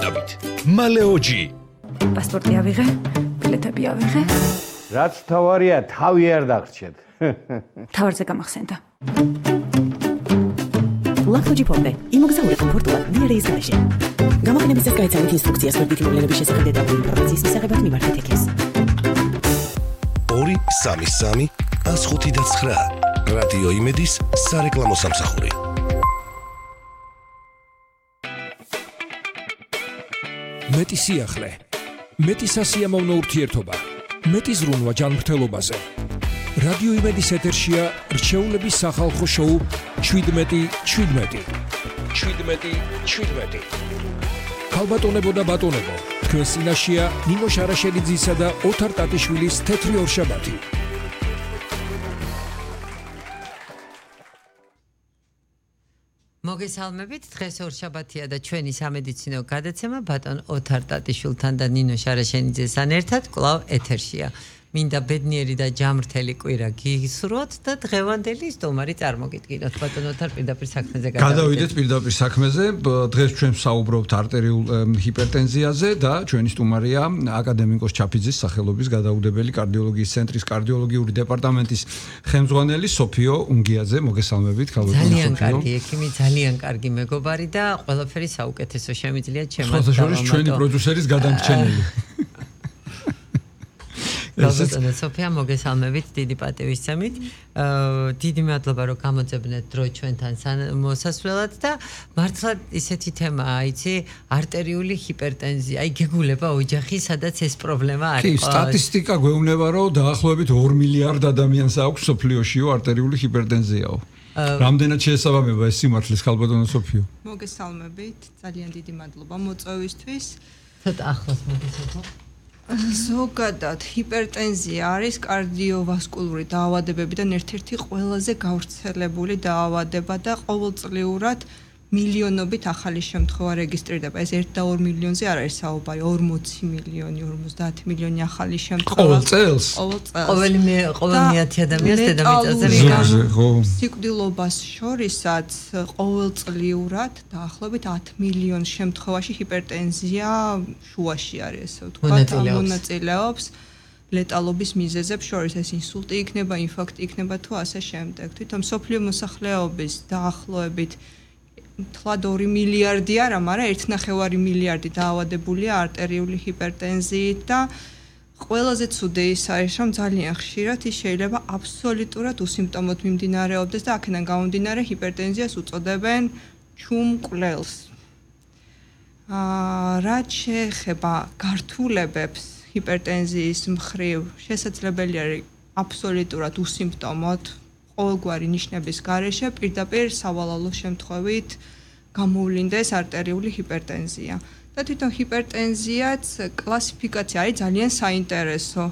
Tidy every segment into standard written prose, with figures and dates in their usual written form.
გაცნობით. მალეოჯი. პასპორტი ავიღე, ბილეთები ავიღე. რაც თავარია, თავი არ დაგრჩეთ. თავარზე გამახსენდა. ლაქთოჯი ფორტე, იმოგზაური კომფორტულად დიარეის გარეშე. გამოგონების ეს გაიცანით ინსტრუქციას ვერდითი მოვლენების შესახებ დეტალური ინფორმაციის მისაღებად მიმართეთ ექეს. 233 105 რადიო იმედის სარეკლამო სამსახური. მეტი სიახლე, მეტი სასიამოვნო ურთიერთობა, მეტი ზრუნვა ჯანმრთელობაზე. რადიო იმედის ეთერშია რჩეულების სახალხო შოუ 17. ქალბატონებო და ბატონებო, თქვენ წინაშეა ნინო შარაშელიძისა და ოთარ ტატიშვილის თეთრი ორშაბათი. მოგესალმებით, დღეს ორშაბათია და ჩვენი სამედიცინო გადაცემა ბატონ ოთარ ტატიშვილთან და ნინო შარაშელიძესთან ერთად კვლავ ეთერშია. მინდა ბედნიერი და ჯამრთელი კვირა გისურვოთ და დღევანდელი სტუმარი წარმოგიდგინოთ. ბატონ ოთარ, პირდაპირ საქმეზე გადავიდეთ პირდაპირ საქმეზე. დღეს ჩვენ საუბრობთ არტერიულ ჰიპერტენზიაზე და ჩვენი სტუმარია აკადემიკოს ჩაფიძის სახელობის გადაუდებელი კარდიოლოგიის ცენტრის კარდიოლოგიური დეპარტამენტის ხელმძღვანელი სოფიო უნგიაძე. მოგესალმებით, ქალბატონო სოფიო. ძალიან კარგი ექიმი, ძალიან კარგი მეგობარი და ყველაფერი საუკეთესო შემიძლია ჩემს შესაძლოა ჩვენი პროდიუსერის გადამრჩენელი. გაზეთა სოფია, მოგესალმებით, დიდი პატივისცემით. დიდი მადლობა, რომ გამოძებნეთ დრო ჩვენთან მოსასვლელად და მართლა ისეთი თემაა, იცი, არტერიული ჰიპერტენზია. აი გეგულება ოჯახი, სადაც ეს პრობლემა არის. კი, სტატისტიკა გვეუბნება, რომ დაახლოებით 2 მილიარდ ადამიანს აქვს სოფლიოშიო არტერიული ჰიპერტენზიაო. რამდენად შეესაბამება ეს სიმართლეს, ქალბატონო სოფიო? მოგესალმებით, ძალიან დიდი მადლობა მოწვევისთვის. ცოტა ახლოს მოგესალმო. ზოგადად ჰიპერტენზია არის კარდიოვასკულური დაავადებებიდან ერთ-ერთი ყველაზე გავრცელებული დაავადება და ყოველწლიურად მილიონობით ახალი შემთხვევა რეგისტრირდება. ეს 1 და 2 მილიონზე არ არის საუბარი, 40 მილიონი, 50 მილიონი ახალი შემთხვევა. ყოველ წელს? ყოველი 1000 ადამიანს დედამიწაზე სიკვდილობას შორისაც ყოველწლიურად დაახლოებით 10 მილიონ შემთხვევაში ჰიპერტენზია შუაში არის, ესე ვთქვათ, მონაწილეობს ლეტალობის მიზეზებს შორის. ეს ინსულტი იქნება, ინფარქტი იქნება თუ ასე შემდეგ. თვითონ მსოფლიო მოსახლეობის დაახლოებით თლად 2 მილიარდი არა, მაგრამ 1.5 მილიარდი დაავადებულია არტერიული ჰიპერტენზიით და ყველაზე ცუდი ის არის, რომ ძალიან ხშირად ის შეიძლება აბსოლუტურად უსიმპტომოდ მიმდინარეობდეს და აქედან გამომდინარე ჰიპერტენზიას უწოდებენ ჩუმკვლელს. რაც შეეხება გართულებებს ჰიპერტენზიის მხრივ, შესაძლებელი არის აბსოლუტურად უსიმპტომოდ ყოველგვარი ნიშნების გარეშე პირდაპირ სავალალო შემთხვევით გამოვლინდეს არტერიული ჰიპერტენზია. და თვითონ ჰიპერტენზიაც კლასიფიკაცია არის ძალიან საინტერესო.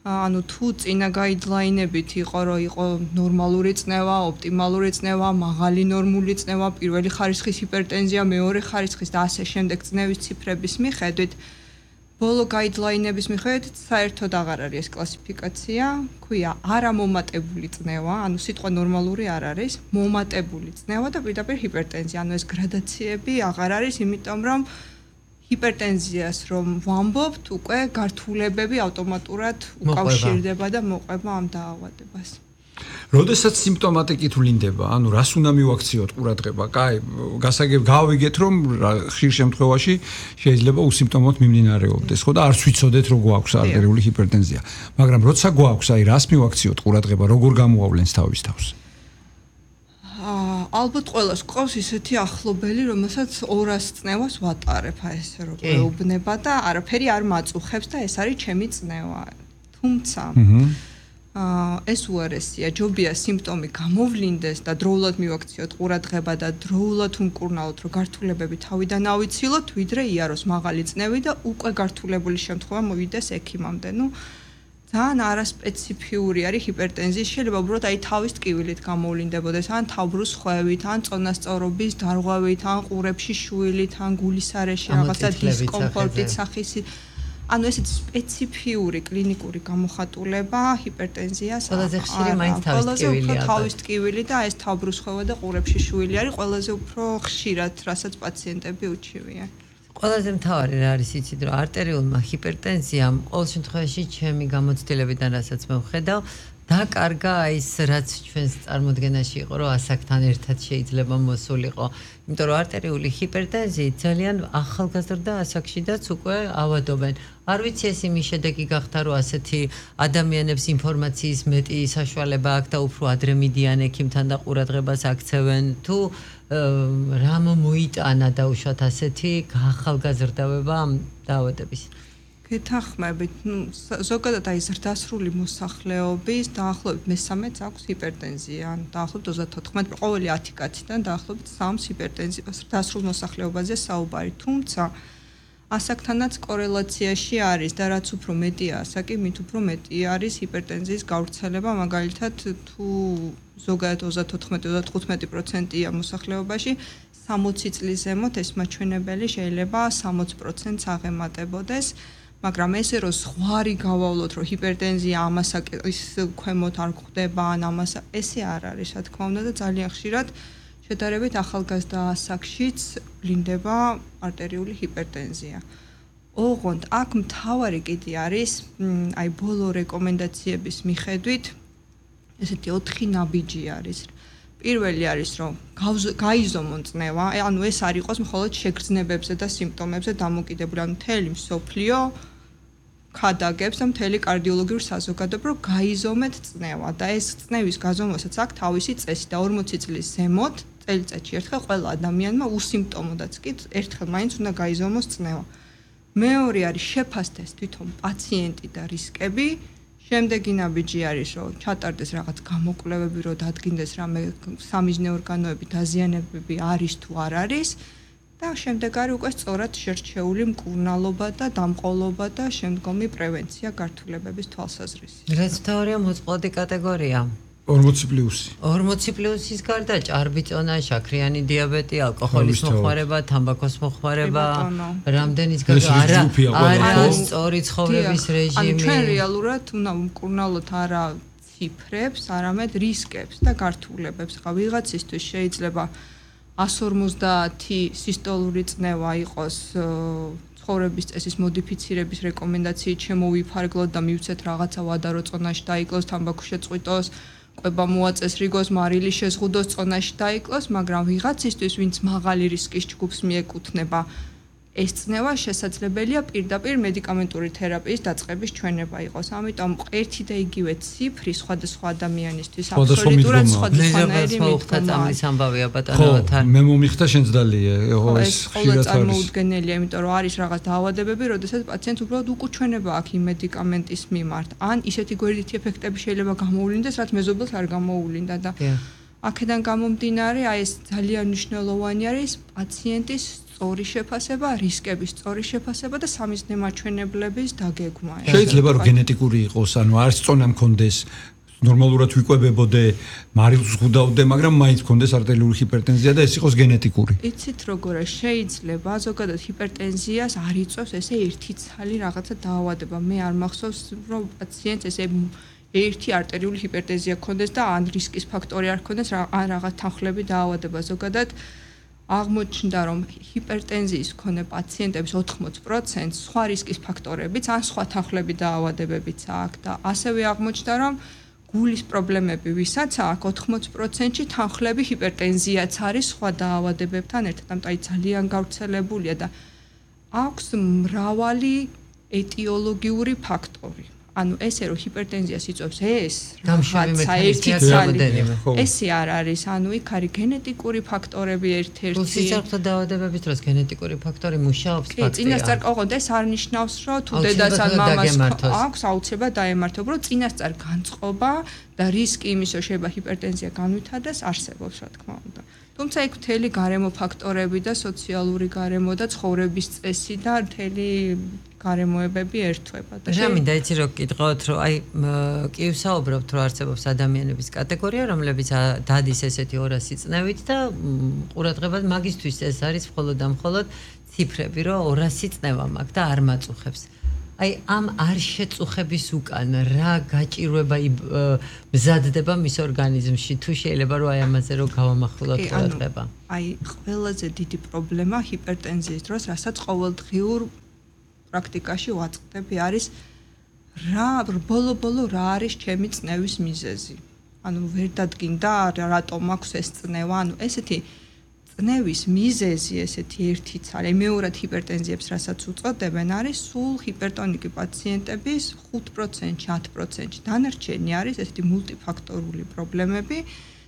ანუ თუ წინა გაიდლაინებით იყო, რომ იყო ნორმალური წნევა, ოპტიმალური წნევა, მაღალი ნორმული წნევა, პირველი ხარისხის ჰიპერტენზია, მეორე ხარისხის და ასე შემდეგ წნევის ციფრების მიხედვით ბოლო გაიდლაინების მიხედვით საერთოდ აღარ არის ეს კლასიფიკაცია, ქვია არამომატებული წნევა, ანუ სიტყვა ნორმალური არ არის, მომატებული წნევა და პირდაპირ ჰიპერტენზია, ანუ ეს გრადაციები აღარ არის, იმიტომ რომ ჰიპერტენზიას რომ ვამბობთ, უკვე გართულებები ავტომატურად უკავშირდება და მოყვება ამ დაავადებას. როდესაც სიმპტომატიკით ვლინდება, ანუ რას უნდა მივაქციოთ ყურადღება? კაი, გავიგეთ, რომ ხშირ შემთხვევაში შეიძლება უსიმპტომოდ მიმდინარეობდეს, ხო და არც ვიცოდეთ, რომ გვაქვს არტერიული ჰიპერტენზია. მაგრამ როცა გვაქვს, აი რას მივაქციოთ ყურადღება, როგორ გამოავლენს თავის თავს? ალბათ ყველას გვყავს ისეთი ახლობელი, რომელსაც 200 წნევას ვატარებ, აი ესე რომ გვეუბნება და არაფერი არ მაწუხებს და ეს არის ჩემი წნევა. თუმცა ეს უარესია, ჯობია სიმპტომი გამოვლინდეს და დროულად მივაქციოთ ყურადღება და დროულად უმკურნალოთ, რომ გართულებები თავიდან ავიცილოთ, ვიდრე იაროს მაღალი წნევი და უკვე გართულებული შემთხვევა მოვიდეს ექიმამდე. ძალიან არასპეციფიური არის ჰიპერტენზია, შეიძლება უბრალოდ აი თავის ტკივილით გამოვლინდებოდეს, ან თავბრუს ხვევით, ან წონასწორობის დარღვევით, ან ყურებში შვილით, ან გულის არეში რაღაცა დისკომფორტით სახისით. ანუ ესეთ სპეციფიური კლინიკური გამოხატულება ჰიპერტენზიას ყველაზე ხშირი მაინც თავის ტკივილი და ეს თავბრუსხვევა და ყურებში შვილი არის ყველაზე უფრო ხშირად, რასაც პაციენტები უჩივიან. ყველაზე მთავარი რა არის იცით რომ არტერიულმა ჰიპერტენზიამ ყოველ შემთხვევაში ჩემი გამოცდილებიდან რასაც მე ვხედავ დაკარგა ის რაც ჩვენს წარმოდგენაში იყო რომ ასაკთან ერთად შეიძლება მოსულიყო იმიტომ რომ არტერიული ჰიპერტენზიით ძალიან ახალგაზრდა ასაკშიდაც უკვე ავადობენ არ ვიცი ეს იმის შედეგი გახდა რომ ასეთი ადამიანებს ინფორმაციის მეტი საშუალება აქვს და უფრო ადრე მიდიან ექიმთან და ყურადღებას აქცევენ თუ რამ მოიტანა დაუშვათ ასეთი ახალგაზრდავება ამ დაავადების გეთანხმებით, ზოგადად აი ზრდასრული მოსახლეობის დაახლოებით მე-13-ს აქვს ჰიპერტენზია, ან დაახლოებით 34, ყოველი 10 კაციდან დაახლოებით 3-ს ჰიპერტენზია ზრდასრულ მოსახლეობაზე საუბარი, თუმცა ასაკთანაც კორელაციაში არის და რაც უფრო მეტია ასაკი, მით უფრო მეტი არის ჰიპერტენზიის გავრცელება, მაგალითად თუ ზოგადად 34-35%-ია მოსახლეობაში 60 წლის ზემოთ ეს მაჩვენებელი შეიძლება 60%-ს აღემატებოდეს. მაგრამ ესე რომ ზღვარი გავავლოთ რომ ჰიპერტენზია ამასაკის ქვემოთ არ გვხდება ან ამას ესე არ არის რა თქმა უნდა და ძალიან ხშირად შედარებით ახალგაზრდა ასაკშიც ვლინდება არტერიული ჰიპერტენზია. ოღონდ აქ მთავარი კიდე არის აი ბოლო რეკომენდაციების მიხედვით ესეთი 4 ნაბიჯი არის. პირველი არის რომ გაიზომონ წნევა, ანუ ეს არ იყოს მხოლოდ შეგრძნებებზე და სიმპტომებზე დამოკიდებული, ანუ მთელი მსოფლიო ქადაგებს და მთელი კარდიოლოგიური საზოგადოება რომ გაიზომეთ წნევა და ეს წნევის გაზომვასაც აქვს თავისი წესი და 40 წლის ზემოთ წელიწადში ერთხელ ყველა ადამიანმა უსიმპტომოდაც კი ერთხელ მაინც უნდა გაიზომოს წნევა. მეორე არის შეფასდეს თვითონ პაციენტი და რისკები. შემდეგი ნაბიჯი არის რომ ჩატარდეს რაღაც გამოკვლევები რომ დადგინდეს რამე სამიზნე ორგანოები დაზიანებები არის თუ არ არის და შემდეგ არის უკვე სწორად შერჩეული მკურნალობა და დამყოლობა და შემდგომი პრევენცია გართულებების თვალსაზრისით. რაც მთავარია მოწყვლადი კატეგორია 40+-ის გარდა ჭარბი წონა, შაქრიანი დიაბეტი, ალკოჰოლის მოხმარება, თამბაქოს მოხმარება, რამდენის არა სწორი ცხოვრების რეჟიმი. ანუ ჩვენ რეალურად უნდა ვმკურნალოთ არა ციფრებს, არამედ რისკებს და გართულებებს. ხა ვიღაცისთვის შეიძლება 150 სისტოლური წნევა იყოს ცხოვრების წესის მოდიფიცირების რეკომენდაციით შემოვიფარგლოთ და მივცეთ რაღაცა ვადარო წონაში დაიკლოს, თამბაქო შეწყვიტოს, ყვება მოაწეს რიგოს, მარილი შეზღუდოს, წონაში დაიკლოს, მაგრამ ვიღაცისთვის, ვინც მაღალი რისკის ჯგუფს მიეკუთვნება, ეს წნევა შესაძლებელია პირდაპირ მედიკამენტური თერაპიის დაწყების ჩვენება იყოს. ამიტომ ერთი და იგივე ციფრი სხვადასხვა ადამიანისთვის აბსოლუტურად სხვადასხვანაირი მიდგომაა. ამბავია ბატონოთან. მე მომიხდა შენც დალია, ეს ხშირად არის. წარმოუდგენელია, იმიტომ რომ არის რაღაც დაავადებები, როდესაც პაციენტს უბრალოდ უკუჩვენება აქვს იმ მედიკამენტის მიმართ. ან ისეთი გვერდითი ეფექტები შეიძლება გამოუვლინდეს, რაც მეზობელს არ გამოუვლინდა და აქედან გამომდინარე, აი ეს ძალიან მნიშვნელოვანი არის პაციენტის სწორი შეფასება, რისკების სწორი შეფასება და სამიზნე მაჩვენებლების დაგეგმა. შეიძლება რომ გენეტიკური იყოს, ანუ არც წონა მქონდეს, ნორმალურად ვიკვებებოდე, მარილს ვხუდავდე, მაგრამ მაინც მქონდეს არტერიული ჰიპერტენზია და ეს იყოს გენეტიკური. იცით როგორია, შეიძლება ზოგადად ჰიპერტენზიას არ იწვევს ესე ერთი ცალი რაღაცა დაავადება. მე არ მახსოვს რომ პაციენტს ესე ერთი არტერიული ჰიპერტენზია ქონდეს და ან რისკის ფაქტორი არ ქონდეს, ან რაღაც თანხლები დაავადება ზოგადად აღმოჩნდა რომ ჰიპერტენზიის მქონე პაციენტების 80% სხვა რისკის ფაქტორებიც ან სხვა თანხლები დაავადებებიც აქვს და ასევე აღმოჩნდა რომ გულის პრობლემები ვისაც აქვს 80%-ში თანხლები ჰიპერტენზიაც არის სხვა დაავადებებთან ერთად, ამიტომ ძალიან გავრცელებულია და აქვს მრავალი ეტიოლოგიური ფაქტორი. ანუ ესე რომ ჰიპერტენზიას იწვევს ეს რაღაცა ერთი ცალი ესე არ არის, ანუ იქ არის გენეტიკური ფაქტორები ერთ-ერთი. სიცოცხლე დაავადებების დროს გენეტიკური ფაქტორი მუშაობს ფაქტია. წინასწარ ოღონდ ეს არ ნიშნავს რომ თუ დედას ან მამას აქვს აუცილებლად დაემართო, რომ წინასწარ განწყობა და რისკი იმის რომ შეიძლება ჰიპერტენზია განვითარდეს არსებობს რა თქმა უნდა. თუმცა იქ მთელი გარემო ფაქტორები და სოციალური გარემო და ცხოვრების წესი და მთელი გარემოებები ერთვება და რა მინდა იცი რომ გითხოთ რომ აი კი ვსაუბრობთ რომ არსებობს ადამიანების კატეგორია რომლებიც დადის ესეთი 200 წნევით და ყურადღება მაგისთვის ეს არის მხოლოდ და მხოლოდ ციფრები რომ 200 წნევა მაქვს და არ მაწუხებს აი ამ არ შეწუხების უკან რა გაჭირვება მზადდება მის ორგანიზმში თუ შეიძლება რომ აი ამაზე რომ გავამახვილოთ ყურადღება. აი ყველაზე დიდი პრობლემა ჰიპერტენზიის დროს, რასაც ყოველდღიურ პრაქტიკაში ვაწყდები, არის ბოლო-ბოლო რა არის ჩემი წნევის მიზეზი. ანუ ვერ დადგინდა რატომ აქვს ეს წნევა, ანუ ესეთი წნევის მიზეზი, ესეთი ერთი ცალი, მეორად ჰიპერტენზიებს, რასაც უწოდებენ, არის სულ ჰიპერტონიკი პაციენტების 5%, 10%. დანარჩენი არის ესეთი მულტიფაქტორული პრობლემები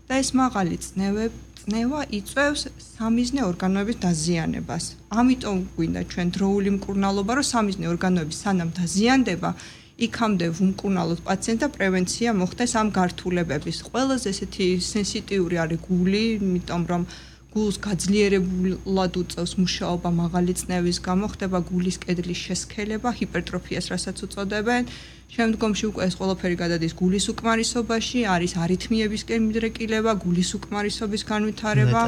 და ეს მაღალი წნევა იწვევს სამიზნე ორგანოების დაზიანებას. ამიტომ გვინდა ჩვენ დროული მკურნალობა, რომ სამიზნე ორგანოები სანამ დაზიანდება, იქამდე ვუმკურნალოთ პაციენტს და პრევენცია მოხდეს ამ გართულებების. ყველაზე ესეთი სენსიტიური არის გული, იმიტომ რომ გულს გაძლიერებულად უწევს მუშაობა მაღალი წნევის გამო, ხდება გულის კედლის შესქელება, ჰიპერტროფიას, რასაც უწოდებენ. შემდგომში უკვე ეს ყველაფერი გადადის გულის უკმარისობაში, არის არითმიებისკენ მიდრეკილება, გულის უკმარისობის განვითარება,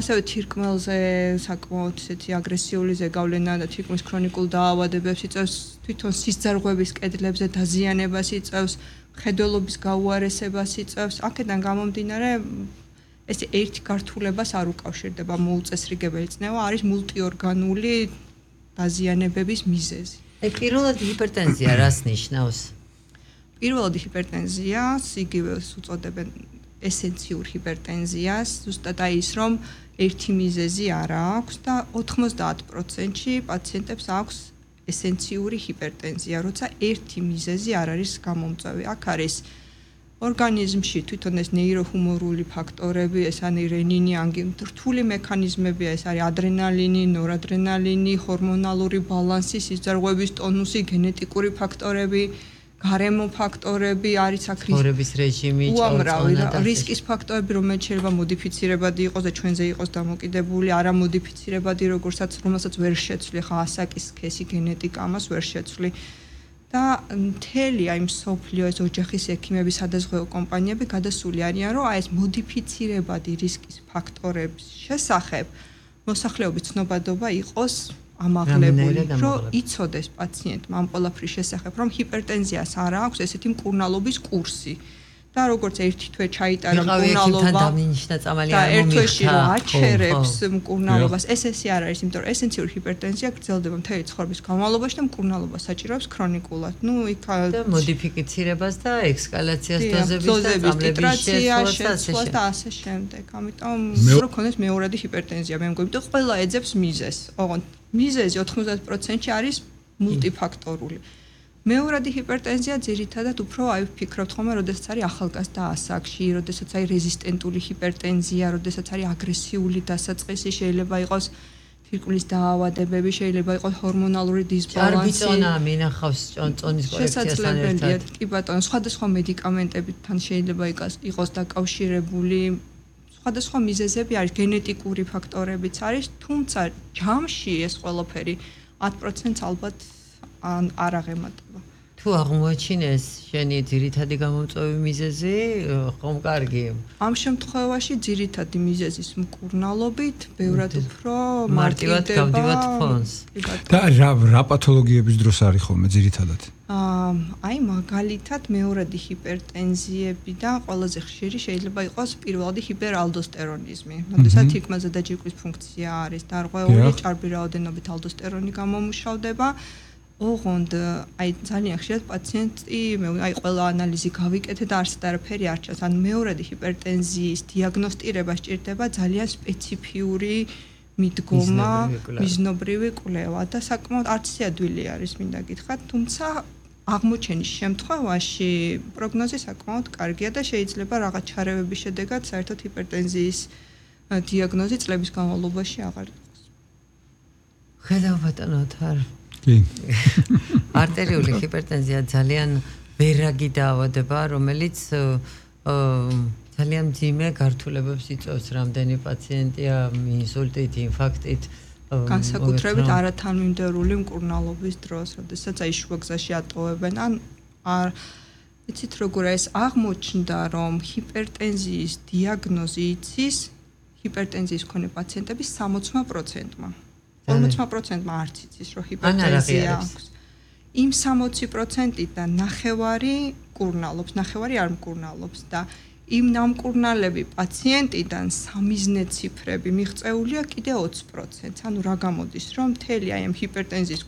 ასევე თირკმელზე საკმაოდ ესეთი აგრესიული ზეგავლენა და თირკმლის ქრონიკულ დაავადებებს იწვევს, თვითონ სისძარღვების კედლებზე დაზიანებას იწვევს, მხედველობის გაუარესებას იწვევს. აქედან გამომდინარე ეს ერთი გართულებას არ უკავშირდება მოუწესრიგებელი წნევა, არის მულტიორგანული დაზიანებების მიზეზი. პირველად ჰიპერტენზია რას ნიშნავს? პირველად ჰიპერტენზიას იგივე უწოდებენ ესენციურ ჰიპერტენზიას, ზუსტად აი ის რომ ერთი მიზეზი არ აქვს და 90%-ში პაციენტებს აქვს ესენციური ჰიპერტენზია, როცა ერთი მიზეზი არ არის გამომწვევი. აქ არის ორგანიზმში თვითონ ეს ნეიროჰუმორული ფაქტორები, ეს არის რენინი, რთული მექანიზმებია, ეს არის ადრენალინი, ნორადრენალინი, ჰორმონალური ბალანსი, სისძარღვების ტონუსი, გენეტიკური ფაქტორები, გარემო ფაქტორები, არის აქ ცხოვრების რეჟიმი, უამრავი რისკის ფაქტორები, რომელიც შეიძლება მოდიფიცირებადი იყოს და ჩვენზე იყოს დამოკიდებული, არა მოდიფიცირებადი, რომელსაც ვერ შეცვლი, ხა ასაკის სქესი გენეტიკა ამას ვერ შეცვლი. და მთელი აი მსოფლიო ეს ოჯახის ექიმების სადაზღვევო კომპანიები გადასული არიან, რომ აი ეს მოდიფიცირებადი რისკის ფაქტორების შესახებ მოსახლეობის ცნობადობა იყოს ამაღლებული, რომ იცოდეს პაციენტმა ამ ყველაფრის შესახებ, რომ ჰიპერტენზიას არ აქვს ესეთი მკურნალობის კურსი. და როგორც ერთი თვე ჩაიტარა მკურნალობა და ერთ თვეში რომ აჩერებს მკურნალობას, ეს არ არის, იმიტომ რომ ესენციური ჰიპერტენზია გრძელდება მთელი ცხოვრების განმავლობაში და მკურნალობა საჭიროებს ქრონიკულად. ნუ იქ და მოდიფიცირებას და ექსკალაციას დოზების შეცვლას და ასე შემდეგ. ამიტომ რო ქონდეს მეორადი ჰიპერტენზია, მე მგონი, და ყველა ეძებს მიზეზს. ოღონდ მიზეზი 90%-ში არის მულტიფაქტორული. მეორადი ჰიპერტენზია ძირითადად უფრო აი ვფიქრობთ ხოლმე, როდესაც არის ახალგაზრდა ასაკში, როდესაც არის რეზისტენტული ჰიპერტენზია, როდესაც არის აგრესიული დასაწყისი, შეიძლება იყოს თირკმლის დაავადებები, შეიძლება იყოს ჰორმონალური დისბალანსი. ჭარბიწონა მინახავს წონის კორექციასთან ერთად. კი ბატონო, სხვადასხვა მედიკამენტებთან შეიძლება იყოს დაკავშირებული. სხვადასხვა მიზეზები არის, გენეტიკური ფაქტორებიც არის, თუმცა ჯამში ეს ყველაფერი 10%-ს ალბათ არ აღემატება. თუ აღმოაჩინეს შენი ძირითადი გამომწვევი მიზეზი, ხომ კარგი? ამ შემთხვევაში ძირითადი მიზეზის მკურნალობით ბევრად უფრო მარტივად გავდივათ ფონს. და რა პათოლოგიების დროს არის ხოლმე ძირითადად? აი მაგალითად მეორადი ჰიპერტენზიები და ყველაზე ხშირი შეიძლება იყოს პირველადი ჰიპერალდოსტერონიზმი. როდესაც თირკმელზე დაჯირკვის ფუნქცია არის დარღვეული, ჭარბი რაოდენობით ალდოსტერონი გამომუშავდება. ოღონდ აი ძალიან ხშირად პაციენტი აი ყველა ანალიზი გავიკეთე და არც არაფერი არ ჩანს. ან მეორადი ჰიპერტენზიის დიაგნოსტირება სჭირდება ძალიან სპეციფიური მიდგომა, მიზნობრივი კვლევა და საკმაოდ არც ადვილი არის, მინდა გითხრათ, თუმცა აღმოჩენის შემთხვევაში პროგნოზი საკმაოდ კარგია და შეიძლება რაღაც ჩარევების შედეგად საერთოდ ჰიპერტენზიის დიაგნოზი წლების განმავლობაში აღარ იყოს. ხედავ ბატონო თარ კი. არტერიული ჰიპერტენზია ძალიან ვერაგი დაავადება, რომელიც ძალიან მძიმე გართულებებს იწვევს. რამდენი პაციენტია ინსულტით, ინფარქტით, განსაკუთრებით არათანმიმდევრული მკურნალობის დროს, როდესაც აი შუაგზაში ატოვებენ, ან იცით როგორ ეს აღმოჩნდა, რომ ჰიპერტენზიის დიაგნოზი იცის ჰიპერტენზიის მქონე პაციენტების 60%-მა. 40%-მა არც იცის, რომ ჰიპერტენზია აქვს. იმ 60%-დან ნახევარი მკურნალობს, ნახევარი არ მკურნალობს და იმ ნამკურნალები პაციენტიდან სამიზნე ციფრები მიღწეულია კიდე 20%. ანუ რა გამოდის, რომ მთელი აი ამ ჰიპერტენზიის